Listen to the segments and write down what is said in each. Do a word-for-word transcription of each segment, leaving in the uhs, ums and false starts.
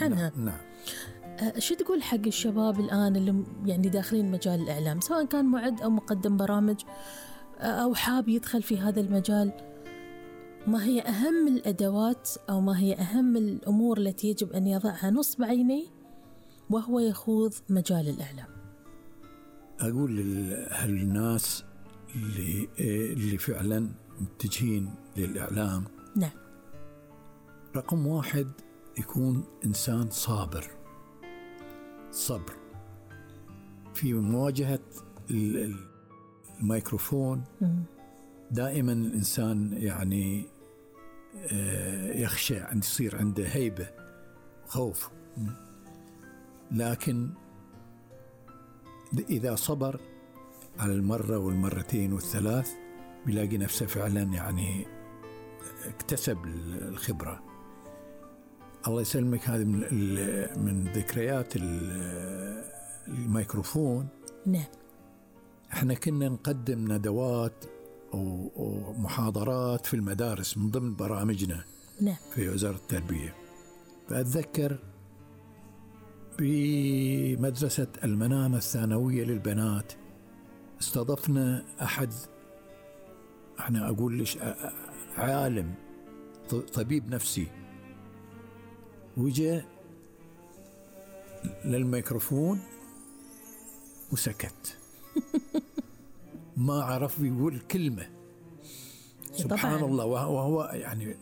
عنها. نعم, نعم. أه شو تقول حق الشباب الآن اللي يعني داخلين مجال الإعلام، سواء كان معد أو مقدم برامج أو حاب يدخل في هذا المجال؟ ما هي أهم الأدوات أو ما هي أهم الأمور التي يجب أن يضعها نصب عينيه وهو يخوض مجال الإعلام؟ أقول للناس اللي, اللي فعلا متجهين للإعلام، نعم، رقم واحد يكون إنسان صابر، صبر في مواجهة الميكروفون. دائما الإنسان يعني يخشى أن يصير عنده هيبة خوف، لكن إذا صبر على المرة والمرتين والثلاث بيلاقي نفسه فعلا يعني اكتسب الخبرة. الله يسلمك، هذه من من ذكريات الميكروفون. نعم. احنا كنا نقدم ندوات ومحاضرات في المدارس من ضمن برامجنا. نعم. في وزارة التربية. فأتذكر بمدرسة المنامة الثانوية للبنات استضفنا أحد، احنا أقول ليش عالم طبيب نفسي، وجاء للميكروفون وسكت ما عرف يقول كلمة. سبحان الله، وهو يعني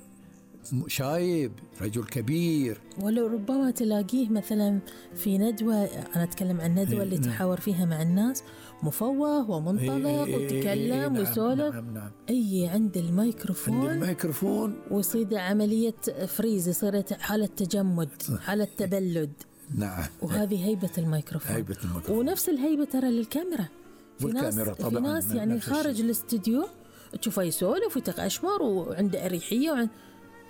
شايب، رجل كبير. ولو ربما تلاقيه مثلا في ندوة، أنا أتكلم عن ندوة اللي تحاور فيها مع الناس، مفوه ومنطلق وتكلم وسولف. نعم نعم. أي عند الميكروفون عند الميكروفون ويصير عملية فريز، يصير حالة تجمد، حالة تبلد. نعم. وهذه هيبة الميكروفون. هيبة الميكروفون. ونفس الهيبة ترى للكاميرا. في ناس طبعاً في ناس يعني خارج الاستديو تشوفه يسولف ويتقشمر وعنده أريحية، وعند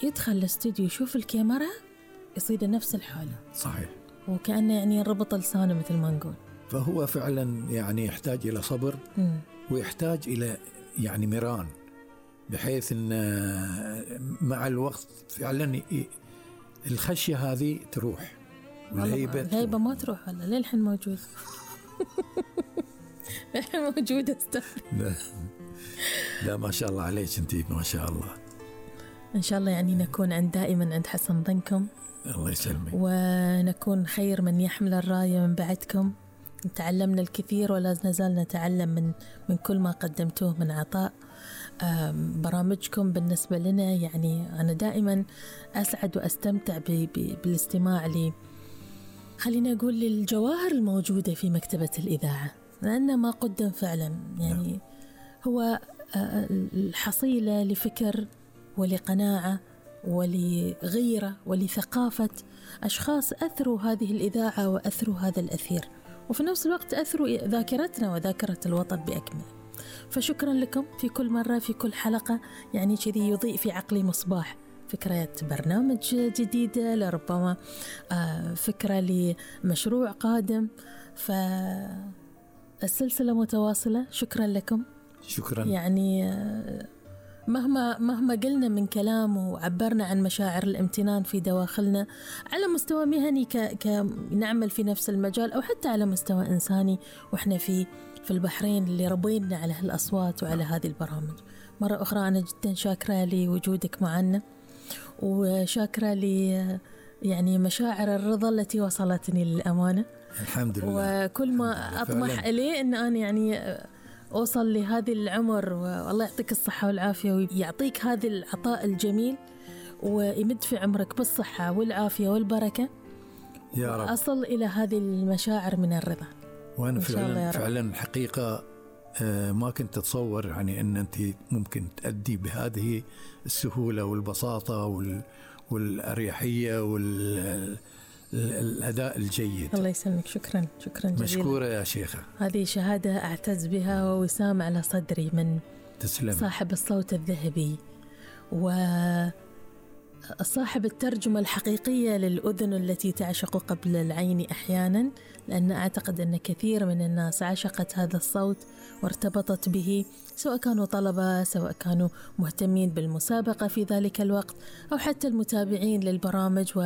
يدخل الاستديو يشوف الكاميرا يصير نفس الحالة. صحيح. وكأنه يعني ربط لسانه مثل ما نقول. فهو فعلا يعني يحتاج إلى صبر، م. ويحتاج إلى يعني مران، بحيث أن مع الوقت فعلا الخشية هذه تروح والهيبة الهيبة ما تروح. ولا للحين موجود الحين موجودة استاذ. لا لا ما شاء الله عليك انتي، ما شاء الله. إن شاء الله يعني نكون عند دائما عند حسن ظنكم. الله يسلمك. ونكون خير من يحمل الراية من بعدكم. تعلمنا الكثير ولا نزال نتعلم من من كل ما قدمتوه من عطاء. برامجكم بالنسبة لنا يعني أنا دائما أسعد وأستمتع بالاستماع لي، خلينا أقول للجواهر الموجودة في مكتبة الإذاعة، لأن ما قدم فعلا يعني هو الحصيلة لفكر ولقناعة ولغيرة ولثقافة أشخاص أثروا هذه الإذاعة وأثروا هذا الأثير، وفي نفس الوقت أثروا ذاكرتنا وذاكرة الوطن بأكمله. فشكرا لكم في كل مرة في كل حلقة، يعني كذي يضيء في عقلي مصباح فكرة برنامج جديدة، لربما فكرة لمشروع قادم، فالسلسلة متواصلة. شكرا لكم. شكرا. يعني مهما مهما قلنا من كلام وعبرنا عن مشاعر الامتنان في دواخلنا على مستوى مهني كنعمل في نفس المجال، أو حتى على مستوى إنساني وإحنا في في البحرين اللي ربينا على هالأصوات وعلى هذه البرامج. مرة أخرى أنا جدا شاكرة لوجودك معنا، وشاكرة لي يعني مشاعر الرضا التي وصلتني للأمانة. الحمد لله. وكل ما أطمح إليه أن أنا يعني أوصل لهذه العمر، والله يعطيك الصحة والعافية ويعطيك هذا العطاء الجميل ويمد في عمرك بالصحة والعافية والبركة يا رب، أصل إلى هذه المشاعر من الرضا. وأنا فعلا فعلا الحقيقة ما كنت أتصور يعني أن أنت ممكن تأدي بهذه السهولة والبساطة والأريحية والأداء الجيد. الله يسلمك. شكرا شكرا جزيلا. مشكورة يا شيخة. هذه شهادة أعتز بها ووسام على صدري من تسلم. صاحب الصوت الذهبي وصاحب الترجمة الحقيقية للأذن التي تعشق قبل العين أحيانا، لأن أعتقد أن كثير من الناس عشقت هذا الصوت وارتبطت به، سواء كانوا طلبة، سواء كانوا مهتمين بالمسابقة في ذلك الوقت، أو حتى المتابعين للبرامج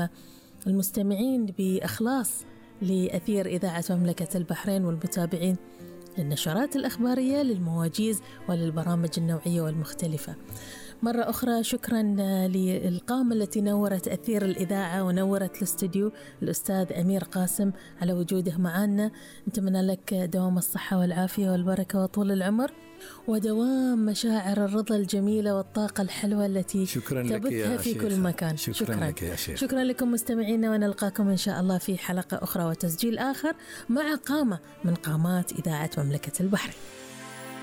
المستمعين بإخلاص لأثير إذاعة مملكة البحرين والمتابعين للنشرات الأخبارية للمواجيز وللبرامج النوعية والمختلفة. مرة أخرى شكرا للقامة التي نورت أثير الإذاعة ونورت الاستوديو، الأستاذ أمير قاسم، على وجوده معنا. نتمنى لك دوام الصحة والعافية والبركة وطول العمر، ودوام مشاعر الرضا الجميلة والطاقة الحلوة التي تبثها في كل مكان. شكرا, شكرا لك يا شيخ. شكرا لكم مستمعينا، ونلقاكم إن شاء الله في حلقة أخرى وتسجيل آخر مع قامة من قامات إذاعة مملكة البحرين.